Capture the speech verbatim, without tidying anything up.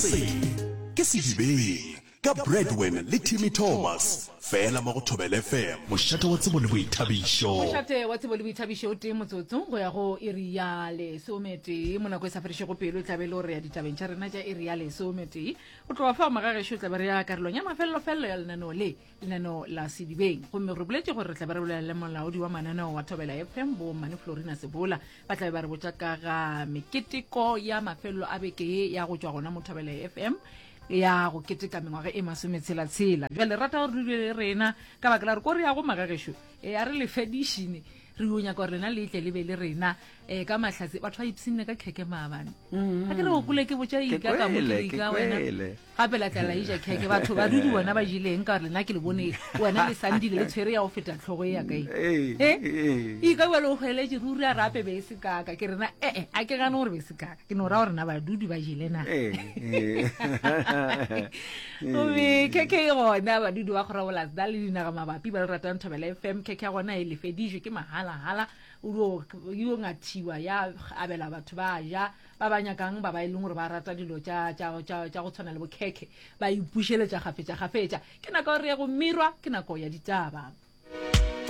Se ke Sedibeng ka Bradwin le Timmy Thomas fela mo go Thobela F M, mošate wa tsebo le boithabišo. Mošate wa tsebo le boithabišo o tee motsotso go ya go iri ya lesometee. Mo nako e sa fedišego pelo e tla be e le gore ya ditabeng tša rena tša iri ya lesometee. Go tloga fao magagešo tla be re ya karolong ya mafelelo-felelo ya lenaneo le, lenaneo la Sedibeng. Gomme re boletše gore re tla be re bolela le molaodi wa mananeo wa Thobela F M, bo Mmane Florina Sebola. Ba tla be ba re botša ka ga meketeko ya mafelelo a beke ye ya go tšwa gona mo Thobela F M ya go keteka mengwaga e masometshela-tshela. Bjale rata gore dule le rena ka baka la gore ko re yago magagešo e a re lefedišene, re yo nyaka gore lena le tle le be le rena um ka mahlatse. Batho ba ipshinne ka kheke maabane, a ke re o kole ke botša ika ka mo ke ika wena gape la tla la ija kheke. Batho ba dudi bona ba jeleng ka gore lena ke le bone wena le sandile le tshwere ya go feta tlhogo e ya kae e ika bjale o hweletše ruri a rape be e se kaka ke rena. Ee, a ke gane gore be se kaka, ke no ra gore na badudi ba jele na. Gomme kheke e gona, badudi ba kgorabolasda le dinaga mabapi ba le ratang Thobela F M, kheke ya gona e lefedišwe ke mahalagala, o yo ngathiwa ya abela batho ba ja ba ba nyakang, ba ba e leng gore ba rata dilo tša go tshwana le bokhekhe, ba ipušeletša kgafetša kgafetša. Ke nako ya gore ye go mirwa, ke nako ya ditaba.